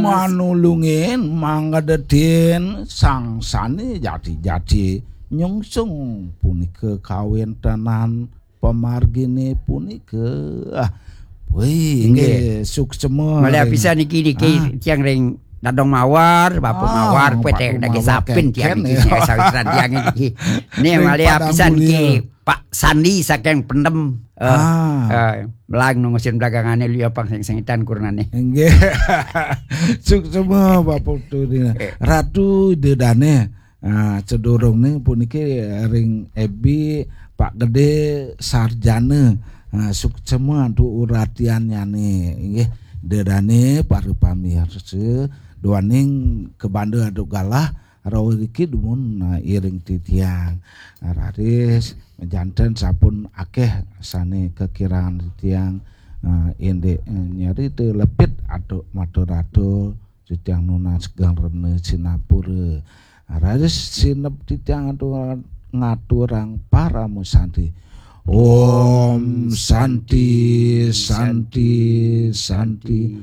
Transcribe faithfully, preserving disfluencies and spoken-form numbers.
manulungin mangga dedin sang sane jati-jati nyungsung punika kawéntenan pamargine punika. Ah, wih, Inggih. Nggih, suksema. Malih Ring. Pisan niki niki Ah. Tiang ring Dadong Mawar, Bapak Ah, Mawar, kuwi Bapak teng daging Mawar sapin tiang kengken, niki ya. Sawisan tiang niki. Nih Ring malih Padang Pisan Mulia. Niki Pak Sandi saking Pendem. Eh, Ah. eh, melang nungusin belakangane liya pang sing sengitan kurnane. Nggih. Suksema Bapak Putu Dina. Eh. Ratu Ida Dane. Ah, sedurungne puniki ring F B Pak Gede Sarjana. Ah, suksema antuk uratiannyane. Inggih, Ida Dane para pamirsa duaning kabanda antuk galah rauh riki dumun, ah, iring titiang. Ah, raris janten sampun akeh sane kakirangan titiang. Ah, indik, eh, nyarita lepit antuk matur-atur titiang nunas geng rena sinapura. Raris sineb titiang atur ngaturang parama santi. Om Santi, Santi, Santi.